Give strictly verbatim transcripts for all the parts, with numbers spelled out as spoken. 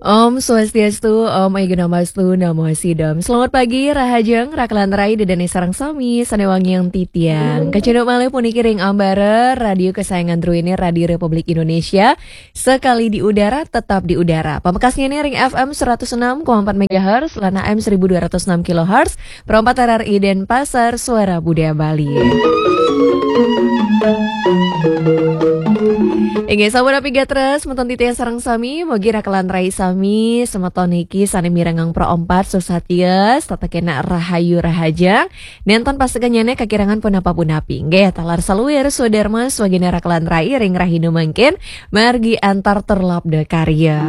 Om Swastiastu, Om Aiguna Mastu, Namo Sidam. Selamat pagi, Rahajeng, Rakelan Rai, Dedene sareng sami, sane wangiang titiang. Kacunduk malih puniki ring ambara radio kesayangan druene, Radio Republik Indonesia, sekali di udara, tetap di udara. Pamekasnyane ring F M seratus enam koma empat megahertz, lan A M seribu dua ratus enam kilohertz, Pro empat R R I Denpasar, Suara Budaya Bali. Inggih, sampun napi gatra, semeton titiang sareng sami, mugi Rakelan Rai sami, semeton niki sane mirengang Pro empat, susatia, setata kena rahayu rahajeng, nenten pasekennyane kakirangan punapa-punapi. Inggih, taler saluir swadarma swagene Rakelan Rai ring rahina mangkin, margi antar terlabda karya.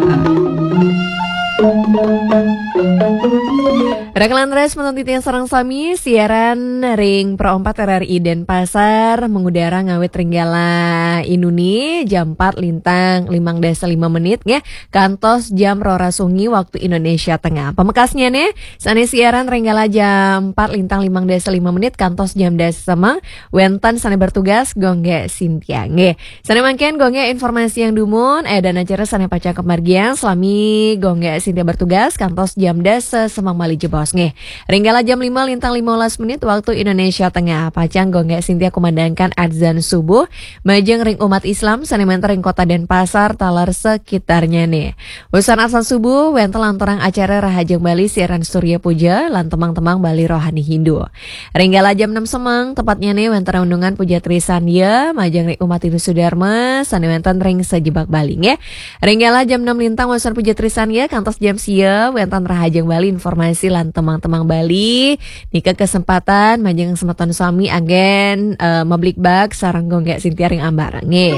Rakelan Rai, semeton titiang sareng sami, siaran ring Pro empat R R I Denpasar, mengudara ngawit ring gala inuni jam empat lintang limang dasa lima menit, nggih, kantos jam roras wengi waktu Indonesia Tengah. Pamekasnyane, sane siaran ring gala jam empat lintang limang dasa lima menit kantos jam dasa semeng, wenten sane bertugas, Gung Gek Sintia, nggih. Sane mangkin, Gung Gek, informasi yang dumun, eh, dan acara sane pacang kamargiang, salami Gung Gek Sintia bertugas, kantos jam dasa semeng malih jebos, nggih. Ring gala jam lima lintang lima belas menit waktu Indonesia Tengah, pacang Gung Gek Sintia kumandangkan adzan subuh, majeng ring umat Islam, sane menten ring Kota Denpasar, taler sekitarnyane. Usan adzan subuh, wenten lanturang acara Rahajeng Bali siaran Surya Puja, lan temang-temang Bali rohani Hindu. Ring gala jam enam semeng, tepatnyane wenten renungan Puja Trisandya, majeng ring umat Hindu Sudarma, sane wenten ring sajebag Bali, nggih. Ring gala jam enam lintang wenten Puja Trisandya, kantos jam sia, wenten Rahajeng Bali informasi lan temang-temang Bali. Nika kesempatan, majeng semeton sami anggen, eh, mabligbagan sareng Gung Gek Sintia ring ambara, nggih.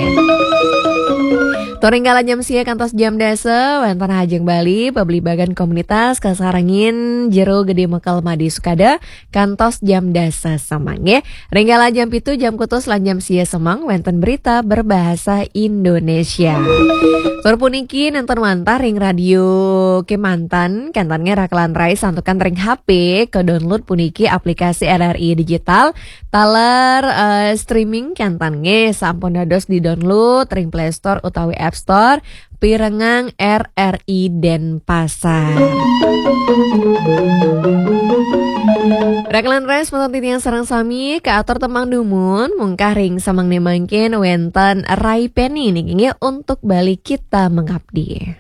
Tur ring gala jam sia kantos jam dasa, wenten Rahajeng Bali, pabligbagan komunitas, kasarengin Jero Gede Mekel Made Sukada, kantos jam dasa semeng, nggih. Ring gala jam pitu, jam kutus lan jam sia semeng, wenten berita berbahasa Indonesia. Tur puniki nenten wantah ring radio kemanten, kenten nggih Rakelan Rai, santukan ring H P, ka-download puniki aplikasi R R I Digital, taler, eh, streaming kenten nggih, sampun dados di-download ring Play Store utawi App Store, pirengang R R I Denpasar. Rakelan Rai, semeton titiang sareng sami, kaatur temang dumun, mungkah ring semengne mangkin wenten Rai Penny niki nggih, Untuk Bali Kita Mengabdi.